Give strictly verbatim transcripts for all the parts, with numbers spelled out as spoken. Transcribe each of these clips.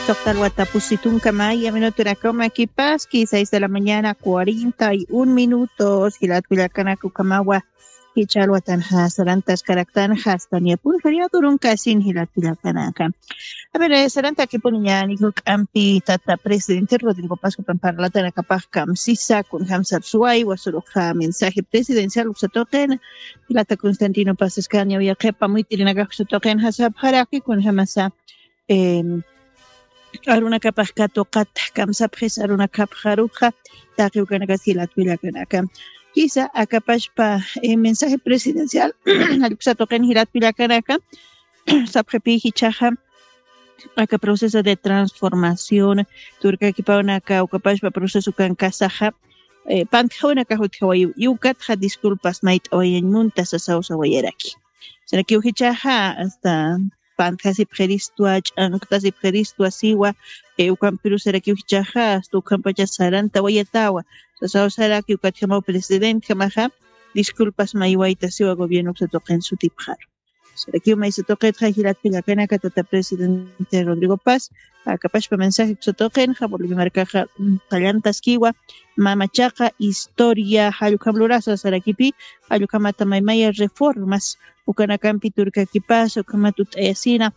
Toqtal watapusi tunka maya minuturakamakipaski, seis de la mañana, cuarenta y un minutos. Jilat kullakanaka, ukhamawa jichha alwatanxa sarantaskaraktanxa, hasta niya pulsariadurunkasin jilat kullakanaka. A ver, eh, sarantakipuniñäni juk'ampi tata presidente Rodrigo Paz jupan parlatanakapax kamsisa, kunjamsar suwaywa, suruxa mensaje presidencial uksa tuqina, jilata Constantino Paz Escaño, yaqhipa muyt'irinakax uksa tuqinxa sapxaraki, kunjamasa, em, arunakapax katuqat kamsapxis arunakapxaruxa, taqi ukanakas jilat kullakanaka. Kisa akapachpa, eh, mensaje presidencial, uksa tuqin jilat kullakanaka, sapxipi jichhaxa, aka proceso de transformación, turkakipawnaka, ukapachpa proceso kankasaxa, eh, pantjawanakax utjawayiw, y ukatxa disculpas mayt'awayañ munta sasaw sawayaraki. Sarakiw jichhaxa, hasta pantjasipxiristwa, ch'anktasipxiristwa siwa, eh, ukampirusarakiw jichhaxa, hasta ukampacha sarantawayatawa. Sasaw saraki ukatjamaw presidentjamaxa, disculpas maywayta siwa gobierno uksa tuqin sutipxaru. Sarakiw maysa tuqitxa jilat kullakanaka tata presidente Rodrigo Paz, akapachpa mensaje uksa tuqinxa, Bolivia markaxa, mm, qallantaskiwa, mamachaqa historia, jallukam lurasa sarakipi, jallukamata maymaya reformas, ukanakampi turkakipasa, ukhamat ut'ayasina,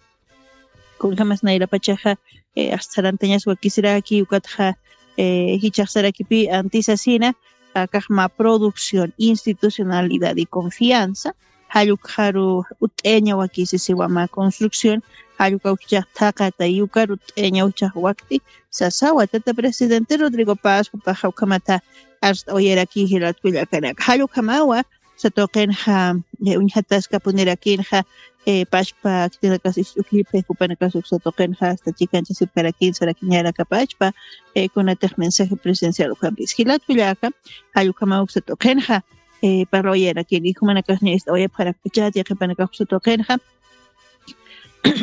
kunjamas nayrapachaxa, eh, hasta sarantañas wakisiraki, ukatxa, eh, jichhax sarakipi antisasina, akax mä producción, institucionalidad y confianza, jallukxaru ut'ayaña wakisi siwa mä construcción, jallukawjax thaqata, y ukaru ut'ayañawjax wakti, sasawa tata presidente Rodrigo Paz, jupaxa ukhamata arst'awayaraki jilat kullakanaka. Jallukhamawa, uksa tuqinxa, eh, uñjataskapunirakinxa, eh, pachpa, khitinakas ist'ukipxi, jupanakas uksa tuqinxa, hasta chikanchasipkarakin, sarakiñarakapachpa, eh, kunatix mensaje presidencial ukhampis. Jilat kullaka, jallukhamaw uksa tuqinxa, eh, parlawayarakin, y jumanakas niya ist'awayapxarakpachati, yaqhipanakax uksa tuqinxa,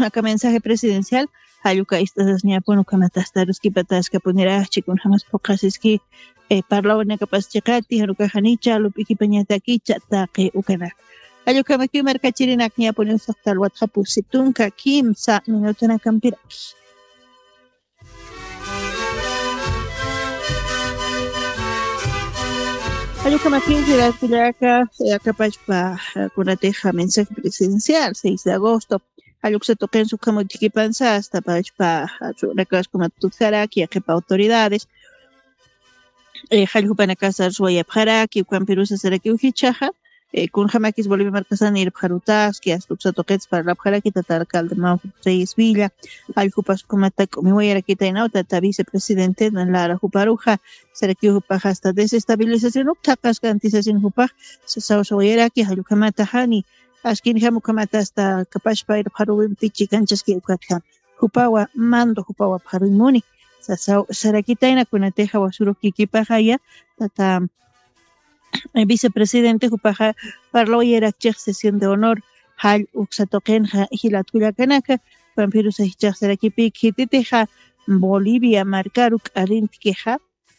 aka mensaje presidencial, jalluka ist'asasñapun, ukhamat hasta aruskipataskapunirachi, kunjamas phuqhasiski, eh, parlawanakapas chiqati, janukaxa nicha, lup'ikipañatakicha, taqi ukanaka. Jallukhamakiw markachirinakñapuni, usuxta alwatxa pusi tunka kimsa minutunakampiraki. Jallukhamakiw jilat kullaka, eh, akapachpa, eh, kunatixa mensaje presidencial, seis de agosto. Jalluksa tuqinsa ukham utjikipansa, hasta pachpa, eh, runakas ukhamat tutjaraki, yaqhipa autoridades, eh, jallupanakas arsuwayapxaraki, ukampirusa sarakiw jichhaxa, eh, kunjamakis Bolivia markasan irpxarutaski, hasta uksa tuqits parlapxaraki, tata alcalde Manfred Reyes Villa, jalljupas ukhamata k'umiwayarakitaynaw, tata vicepresidente Lara juparuxa, sarakiw jupax hasta desestabilización uk thaqaska antisasina jupax, sasaw sawayaraki, jallukhamata jani, askinjam ukhamata hasta kapachpa irpxaruwimpi chikanchaski ukatjam. Jupawa mando, jupawa pxaruymuni. Sasaw sarakitayna kunatixa wasuru kikipaxaya, tata, eh, vicepresidente jupaxa parlawayarakchix sesión de honor, jall uksa tuqinxa jilat kullakanaka, pampirusa jichhax sarakipi khititixa Bolivia markaru k'arintkixa,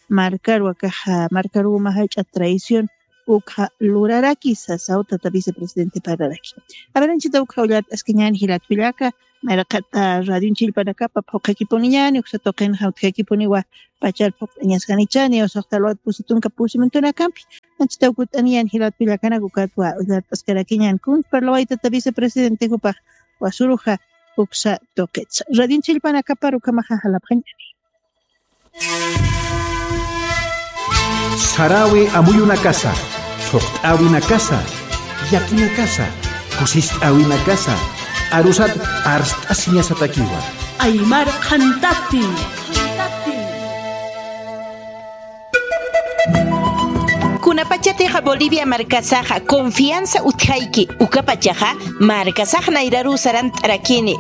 markaru akaxa, markaru uma jach'a traición ukxa luraraki sasaw tata vicepresidente parlaraki. A ver, anchita ukxa ullart'askañäni jilat kullaka, mayraqata radion chillpanakapa phuqhakipuniñäni, uksa tuqinxa utjakipuniwa pachar phuqt'añaskanichani, usuxta alwat pusi tunka pusi minutunakampi. Anchita ukut'aniñäni jilat kullakanaka, ukatwa ullart'askarakiñäni, kun parlaway tata vicepresidente jupax wasuruxa uksa tuqitsa. Radion chillpanakapa ukhamaxa jalapxañäni. Sarawi amuyunakasa, thuqt'äwinakasa, llakinakasa, kusist'äwinakasa, arusat arst'asiñasatakiwa. Aymar qhantati. Kunapachatixa Bolivia markasaxa confianza utjayki, ukapachaxa markasax nayraru sarant'arakini.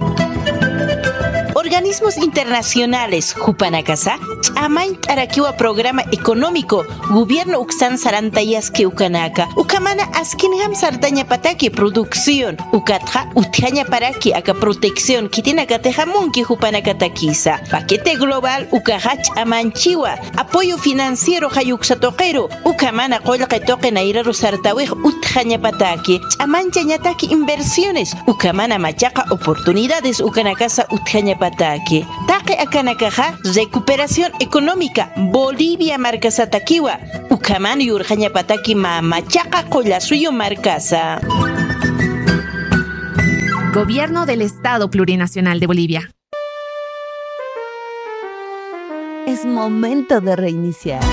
Organismos internacionales jupanakasa ch'amañt'arakiwa programa económico gobierno uksan sarantayaski ukanaka, ukhamana askinjam sartañapataki producción, ukatxa utjañaparaki aka protección khitinakatixa munki jupanakatakisa. Paquete global ukaxa ch'amañchiwa apoyo financiero jall uksa tuqiru, ukhamana qullqi tuqi nayraru sartawix utjañapataki, ch'amañchañataki inversiones, ukhamana machaqa oportunidades ukanakasa utjañapataki. Aki, taqi akanakaxa recuperación económica Bolivia markasatakiwa, ukhaman yurxañapataki mamachaqa qullasuyu markasa. Gobierno del Estado Plurinacional de Bolivia. Es momento de reiniciar.